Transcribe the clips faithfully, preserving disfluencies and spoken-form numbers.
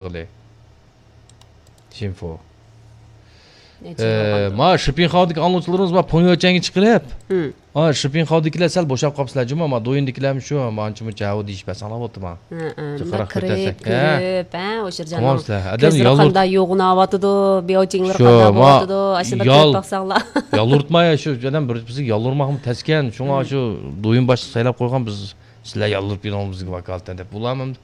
قىلى. شىنفو. نەچچە يىل بولغاندۇ؟ ما شىپىنخاۋدىكى ئاڭلىغۇچىلىرىمىز بار پۇڭيۆچەنگە چىقىرىپ. ھىم. ھا، شىپىنخاۋدىكىلەر سەل بوشاپ قاپسىلەر جۇما، ما دويۇندىكىلەرمۇ شۇ، ما ئانچە مۇنچە ھەۋۇ دېيىشىپ بەرسەڭلار بوپتۇ ما. ھە، ھە، جىقراق كىرىپ، كۆتەرسەك. ھە. كۆرۈپ، ھە، ئوشۇرجاننىڭ كۆزلىرى قانداق يوغىناۋاتىدۇ، بياۋچىڭلىرى قانداق بولۇۋاتىدۇ، ئاشۇ بىر كۆرۈپ باقساڭلار. يالۋۇرتماي، شۇ ئادەم بىر بىزگە يالۋۇرماقمۇ تەسكەن، شۇڭا شۇ دويۇن باشلىقى سايلاپ قويغان بىز، سىلەر يالۋۇرۇپ بېرىڭ بىزگە ۋاكالىتەن دەپ. ئۇلارمۇ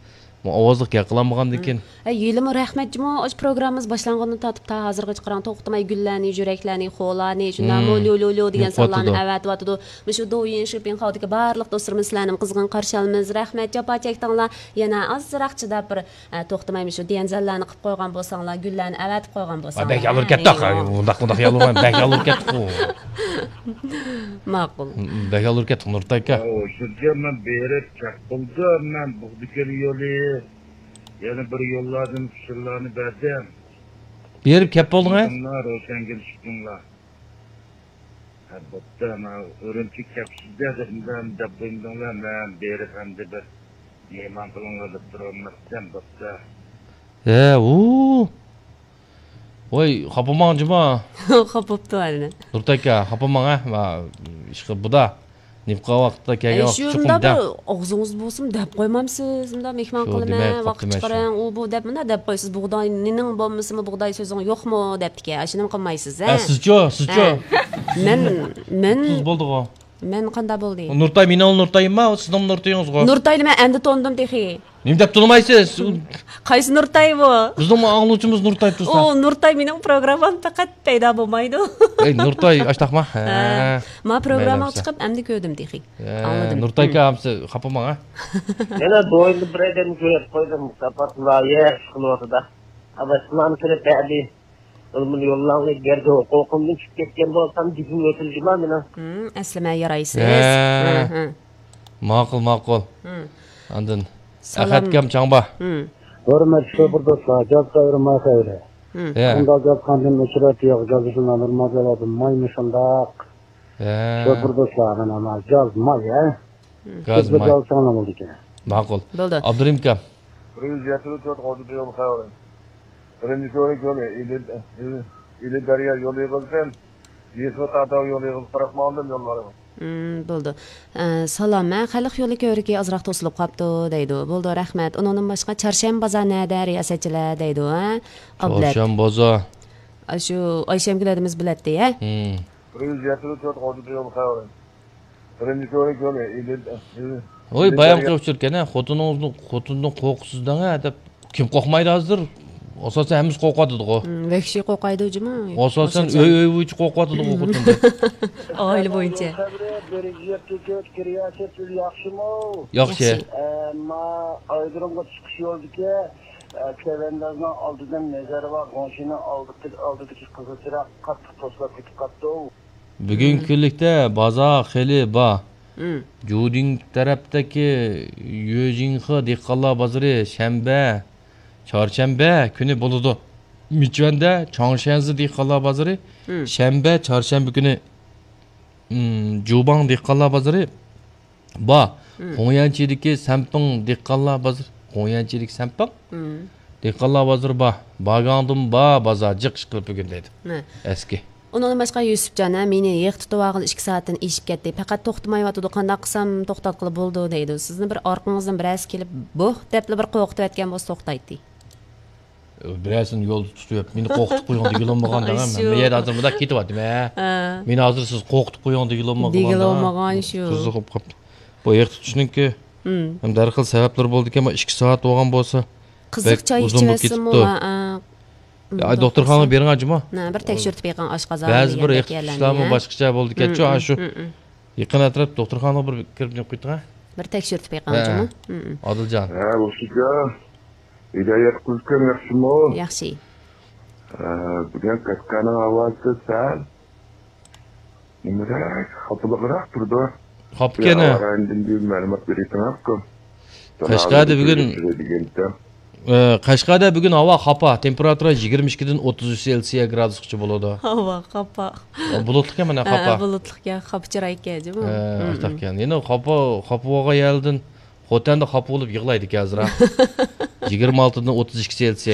ئاۋازلىق گەپ قىلالمىغاندىكىن. ھە، ھېلىمۇ رەھمەت جۇمۇ، ئاشۇ پروگراممىمىز باشلانغاندىن تارتىپ تا ھازىرغىچە قاراڭ، توختىماي گۈللەرنى، يۈرەكلەرنى، خولانى، شۇنداقمۇ ليۇ ليۇ ليۇ دېگەن سانلارنى ئەۋەتىۋاتىدۇ. مۇشۇ دوۋيىن شىپىنخاۋدىكى بارلىق دوستلىرىمىز سىلەرنىمۇ قىزغىن قارشى ئالىمىز. رەھمەت، جاپا چەكتىڭلار. يەنە ئازراق چىداپ بىر، ئە، توختىماي مۇشۇ ديەنزەنلەرنى قىلىپ قويغان بولساڭلار، گۈللەرنى ئەۋەتىپ قويغان بولساڭلار. بەك يالۋۇرۇپ كەتتۇق. ھە، ئۇنداق، ئۇنداق يالۋۇرماي، بەك يالۋۇرۇپ كەتتۇق. ماقۇل. بەك يالۋۇرۇپ كەتتۇق، نۇرتاي ئاكا. ئوشۇرجان، مەن بېرىپ چاق بولدۇم، مەن بۇغدىكەن يولى. يەنە بىر يوللاردىن ئۇچۇرلارنى بەردىم. بېرىپ كەپ بولدۇڭ، ھە؟ شىپىڭلار، روشەنگۈل شىپىڭلار. ھە، بوپتۇ، مانا ئۈرۈمچىگە كەپسىز-دە دەپ، دەپ قويمىدىڭلار، مەن بېرىپ ئەمدى بىر مېھمان قىلىڭلار دەپ تۇرۇۋالماپتىم، بوپتۇ. ھە، ئۇ. ۋاي، خاپىماڭ جۇما. خاپىپتۇ ھەرىنى. نۇرتاكا، خاپىماڭ، ھە؟ ما، ئىشقىلىپ بۇدا. نىفقا ۋاقىتتا كەلگەن ۋاقىتتا چوقۇم دەپ. ئاغزىڭىز بولسۇن دەپ قويمامسىز؟ مۇنداق مېھمان قىلىمەن، ۋاقىت چىقىرىڭ، ئۇ بۇ دەپ مۇنداق دەپ قويىسىز. بۇغداي نېنىڭ بولمىسىمۇ، بۇغداي سۆزۈڭ يوقمۇ دەپتىكەن. ئاشۇنىمۇ قىلمايسىز، ھە؟ ئە، سىزچۇ، سىزچۇ؟ ھە. مەن، مەن. تۇز بولدىغۇ. مەن قانداق بولدى؟ نۇرتاي، مېنىڭ نۇرتايىمما، سىزنىڭ نۇرتىيىڭىزغۇ. نۇرتاينى مەن ئەمدى تونۇدۇم تېخى. نېمە دەپ تونۇمايسىز؟ قايسى نۇرتاي بۇ؟ بىزنىڭ ئاڭلىغۇچىمىز نۇرتاي تۇرسا. ئۇ نۇرتاي مېنىڭ پروگراممام پەقەت پەيدا بولمايدۇ. ئەي، نۇرتاي، ئاشتاقما؟ ھە. ھە. ما پروگراممىغا چىقىپ ئەمدى كۆردۈم تېخى. ھە، ئاڭلىدىم. نۇرتاي ئاكا، خاپىماڭ، ھە؟ يەنە دويىندا بىر ئادەمنى كۆرۈپ قويدۇم، ساپات لايىھە ئىش قىلىۋاتىدۇ. ئاباي، سىلارنى كۆرۈپ بەردى. بۇنى يوللاڭلار، گەرچە ھوقۇقۇمدىن چۈشۈپ كەتكەن بولسام، گېپىم ئۆتۈلدىما مېنىڭ. ھىم، ئەسلىمە يارايسىز. ھە. ھە، ھە. ماقۇل، ماقۇل. ھىم. ئاندىن سالام. ئەخەتكام چاڭبا. ھىم. ھۆرمەتلىك شوپۇر دوستلار، جاز قايرىما خەيرى. ھىم. ھە. قانداق جاز قاندىن ئۆچۈرەت يوق، جازىسىنى نورمال جاۋابى مايمۇ شۇنداق. ھە. شوپۇر دوستلار، مانا، مانا، جاز ماي، ھە؟ گاز ماي. بىر داۋا ساڭلام بولىدىكەن. ماقۇل. بولدى. ئابدۇرېھىم ئاكا. بىر يۈز يەتتە تۆت غۇلجىدا يول خەۋىرى. بىرىنچى كۆۋرۈك يولى، ئىلى، ئىلى، ئىلى دەريا يولى يىغىلسۇن. يېسۇ تارتاۋ يولى يىغىلسۇن، قاراپ ماڭدىم يوللارغا. ھىم، بولدى. ئە، سالام، ھە، خەلق يولى كۆۋرۈكى ئازراق توسۇلۇپ قاپتۇ، دەيدۇ. بولدى، رەھمەت. ئۇنىڭدىن باشقا، چارشەنبە بازار نەدە، رىياسەتچىلەر، دەيدۇ، ھە؟ ئابلەت. چارشەنبە بازار. ئاشۇ ئايشەمگۈل ھەدىمىز بىلەتتى، ھە؟ ھىم. بىر يۈز يەتتە تۆت غۇلجىدا يول خەۋىرى. بىرىنچى كۆۋرۈك يولى، ئىلى، ئىلى، ۋوي، ئىلى بايامقى دەريا. ئۇچۇر ئىكەن، ھە، خوتۇنىڭىزنى، خوتۇننى قورقۇتىسىز دەڭ، ھە، دەپ. كىم قورقمايدۇ ھازىر؟ ئاساسەن ھەممىسى قورقۇۋاتىدىغۇ. ھىم، ۋەھشىي قورقايدۇ جۇمۇ. ئاساسەن ئۆي، ئۆي بويىچە قورقۇۋاتىدىغۇ خوتۇن دەپ. ئائىلە بويىچە. يول خەۋىرى، بىر يۈز يەتتە تۆت، رىياسەت، سىز ياخشىمۇ؟ ياخشى. ياخشى. ئەمما ئايرودرومغا چىقىش يولىدىكى، ئە، چەۋەندازنىڭ ئالدىدىن نەزەر بار، گۇڭشىنىڭ ئالدىدىكى، ئالدىدىكى قىزىل چىراغ قاتتىق توسۇلۇپ كېتىپ قاپتۇ. بۈگۈنكى كۈنلۈكتە بازار خېلى بار. جۇدىڭ تەرەپتىكى يۆجىڭخې دېھقانلار بازىرى شەنبە، چارشەنبە كۈنى بولىدۇ. مىچۈەندە چاڭشەنزې دېھقانلار بازىرى شەنبە، چارشەنبە كۈنى، جۇباڭ دېھقانلار بازىرى بار. ھوڭيەنچىدىكى سەنپىڭ دېھقانلار بازىرى، ھوڭيەنچىدىكى سەنپىڭ دېھقانلار بازىرى بار. باگاڭدىن بار بازار، جىق ئىشقىلىپ بۈگۈن دەيدۇ. ئەسكى. ئۇنىڭدىن باشقا يۈسۈپجان، ھە، مېنى يىغ تۇتۇۋالغىلى ئىككى سائەتتىن ئېشىپ كەتتى. پەقەت توختىمايۋاتىدۇ، قانداق قىلسام توختاتقىلى بولىدۇ دەيدۇ. سىزنى بىر ئارقىڭىزدىن بىرەرسى كېلىپ، بوھ دەپلا بىر قورقۇتۇۋەتكەن بولسا توختايتتى. بىرەرسىنى يولدا تۇتۇپ، مېنى قورقۇتۇپ قويۇڭ دېگىلى بولمىغان دەڭ، مەن يەردە ھازىر مۇنداق كېتىۋاتىمەن. مېنى ھازىر سىز قورقۇتۇپ قويۇڭ دېگىلى بولمىغان دەڭ. دېگىلى بولمىغان شۇ. قىزىقىپ قاپتۇ. بۇ يىغ تۇتۇشنىڭكى ھەم دەرھال سەۋەبلىرى بولىدىكەن، ئىككى سائەت بولغان بولسا. قىزىق چاي ئىچىۋەتسىمۇ، ھە، دوختۇرخانىغا بېرىڭ جۇمۇ. بىر تەكشۈرتۈپ بېقىڭ، ئاشقازان. بەزى بىر يىغ تۇتۇشلارمۇ باشقىچە بولىدىكەنچۇ، ئاشۇ يېقىن ئەتراپ دوختۇرخانىغا بىر كىرىپ نېمە قىلىڭ. بىر تەكشۈرتۈپ بېقىڭ جۇمۇ. ئادىلجان. ھە، بولسىچۇ. ھىدايەت قىزكەن ياخشىمۇ؟ ياخشى. ھە، بۈگۈن قەشقەرنىڭ ھاۋاسى سەل نېمىرەك، خاپىلىقراق تۇرىدۇ. خاپىكەن، ھە. ھاۋا رايىدىن بىر مەلۇمات بېرىسىڭىزكۇ. قەشقەردە بۈگۈن، ئە، قەشقەردە بۈگۈن ھاۋا خاپا، تېمپېراتۇرا يىگىرمە ئىككىدىن ئوتتۇز ئۈچ سېلسىيە گرادۇسقىچە بولىدۇ. ھاۋا خاپا. بۇلۇتلۇقكەن مانا، خاپا. بۇلۇتلۇقكەن، خاپا چىرايكەن جۇمۇ. ئاشتاقكەن. يەنە خاپا، خاپا بولغان يەردىن خوتەندە خاپا بولۇپ يىغلايدىكەن ئازراق. يىگىرمە ئالتىدىن ئوتتۇز ئىككىسى ئېلتىسى